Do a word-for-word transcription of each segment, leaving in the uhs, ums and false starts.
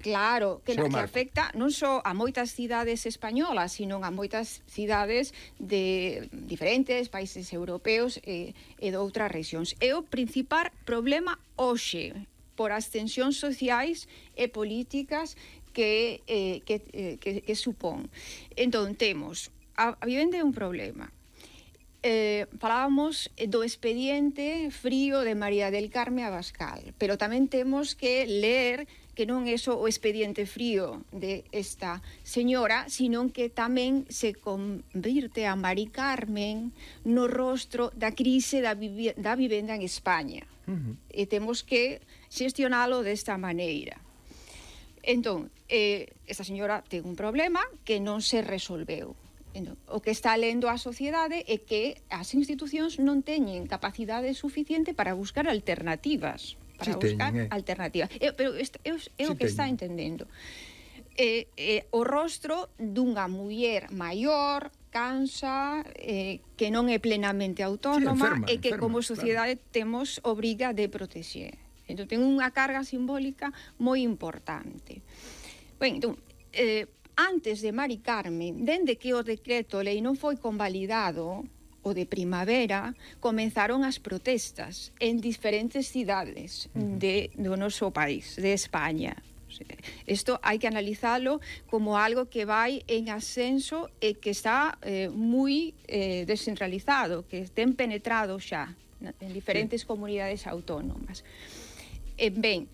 Claro, que, na, que afecta non só a moitas cidades españolas, sino a moitas cidades de diferentes países europeos e, e de outras rexións. É o principal problema hoxe por as tensións sociais e políticas que, eh, que, eh, que, que supón. Entón, temos, a, a vivenda é un problema. Eh, falábamos do expediente frío de María del Carme Abascal, pero tamén temos que ler que non é só o expediente frío de esta señora, sino que tamén se convirte a Mari Carmen no rostro da crise da, vivi da vivenda en España. Uh-huh. E temos que xestionalo desta maneira. Entón, eh, esta señora ten un problema que non se resolveu. Entón, o que está lendo a sociedade é que as institucións non teñen capacidade suficiente para buscar alternativas. Para sí buscar teñen, eh. alternativas. É, pero é, é, é sí o que teñen. Está entendendo. É, é o rostro dunha muller maior, cansa, eh, que non é plenamente autónoma, sí, enferma, e que enferma, como sociedade claro. Temos obriga de protexer. Entón, ten unha carga simbólica moi importante. Ben, entón, eh, antes de Mari Carmen, dende que o decreto lei non foi convalidado, o de primavera, comenzaron as protestas en diferentes cidades uh-huh. de, do noso país, de España. Isto hai que analizalo como algo que vai en ascenso e que está eh, moi eh, descentralizado, que ten penetrado xa en diferentes sí. comunidades autónomas. E ben,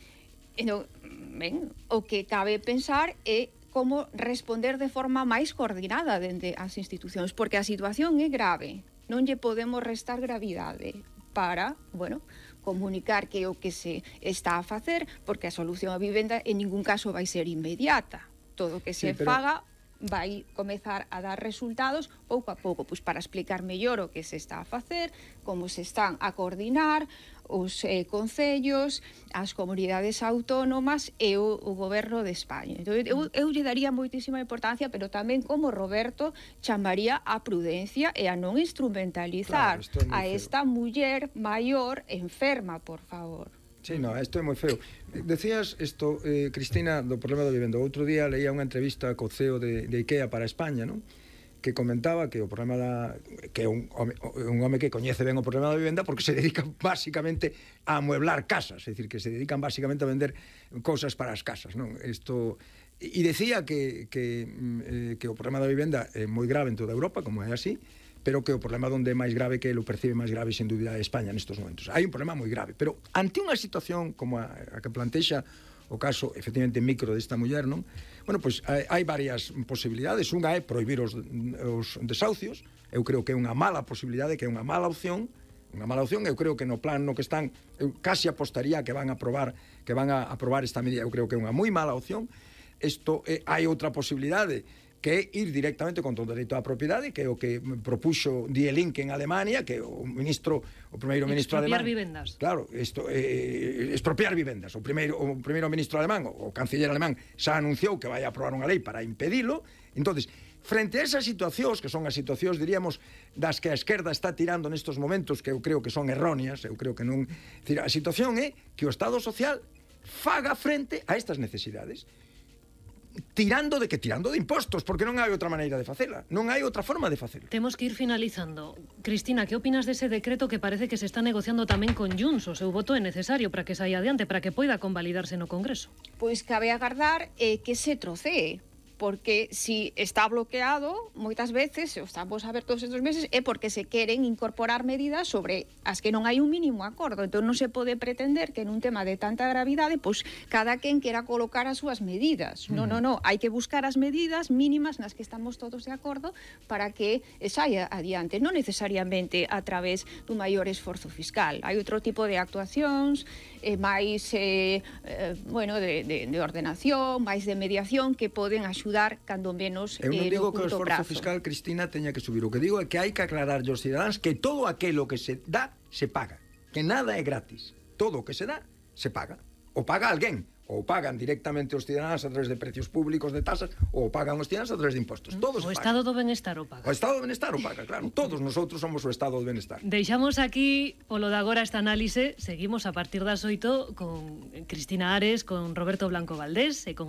no, ben, o que cabe pensar é como responder de forma máis coordinada dende as institucións, porque a situación é grave. Non lle podemos restar gravidade para, bueno, comunicar que o que se está a facer, porque a solución á vivenda en ningún caso vai ser inmediata. Todo o que se sí, pero... faga vai comezar a dar resultados pouco a pouco, pois para explicar mellor o que se está a facer, como se están a coordinar os eh, concellos, as comunidades autónomas e o, o goberno de España. Entón, eu, eu lle daría moitísima importancia, pero tamén como Roberto chamaría a prudencia e a non instrumentalizar claro, a esta muller maior enferma, por favor. Sí, no, isto é moi feo. Decías isto, eh, Cristina, do problema da vivenda. Outro día leía unha entrevista co C E O de, de IKEA para España, non? Que comentaba que o problema da que é un home, un home que coñece ben o problema da vivenda porque se dedica basicamente a amueblar casas, é dicir, que se dedican basicamente a vender cousas para as casas, non? Isto e decía que que eh, que o problema da vivenda é moi grave en toda Europa, como é así, pero que o problema onde é máis grave, que ele o percibe máis grave sin dúbida é España nestes momentos. Hai un problema moi grave, pero ante unha situación como a, a que plantexa o caso, efectivamente, micro desta muller, non? Bueno, pois hai, hai varias posibilidades. Unha é prohibir os, os desahucios. Eu creo que é unha mala posibilidade, que é unha mala opción. Unha mala opción, eu creo que no plan no que están, eu casi apostaría que van a aprobar, que van a aprobar esta medida. Eu creo que é unha moi mala opción. Isto, eh, hai outra posibilidade, que é ir directamente contra o dereito á propiedade, que é o que propuxo Die Linke en Alemania, que o ministro, o primeiro ministro alemán... Expropiar vivendas. Claro, esto, eh, expropiar vivendas. O primeiro, o primeiro ministro alemán, o canciller alemán, xa anunciou que vai a aprobar unha lei para impedilo. Entonces, frente a esas situacións, que son as situacións, diríamos, das que a esquerda está tirando nestos momentos, que eu creo que son erróneas, eu creo que non... A situación é que o Estado Social faga frente a estas necesidades, tirando de que tirando de impostos, porque non hai outra maneira de facela, non hai outra forma de facela. Temos que ir finalizando. Cristina, que opinas dese decreto que parece que se está negociando tamén con Junts? O seu voto é necesario para que saia adiante, para que poida convalidarse no Congreso. Pois cabe agardar eh, que se trocee, porque si está bloqueado, moitas veces, o estamos a ver todos estes meses, é porque se queren incorporar medidas sobre as que non hai un mínimo acordo. Entón non se pode pretender que nun tema de tanta gravidade, pois cada quen quera colocar as súas medidas. Mm. Non, non, non, hai que buscar as medidas mínimas nas que estamos todos de acordo para que saia adiante, non necesariamente a través dun maior esforzo fiscal. Hai outro tipo de actuacións, eh, máis, eh, eh, bueno, de, de, de ordenación, máis de mediación, que poden axudar cando menos eu non eh, digo que o esforzo prazo. fiscal, Cristina, teña que subir. O que digo é que hai que aclarar aos cidadáns que todo aquilo que se dá, se paga. Que nada é gratis. Todo o que se dá, se paga. O paga alguén. Ou pagan directamente os cidadáns a través de precios públicos, de tasas, ou pagan os cidadáns a través de impostos. Todos o Estado do Benestar o paga. O Estado do Benestar o paga, claro. Todos nosotros somos o Estado do Benestar. Deixamos aquí, polo de agora, esta análise. Seguimos a partir das oito con Cristina Ares, con Roberto Blanco Valdés e con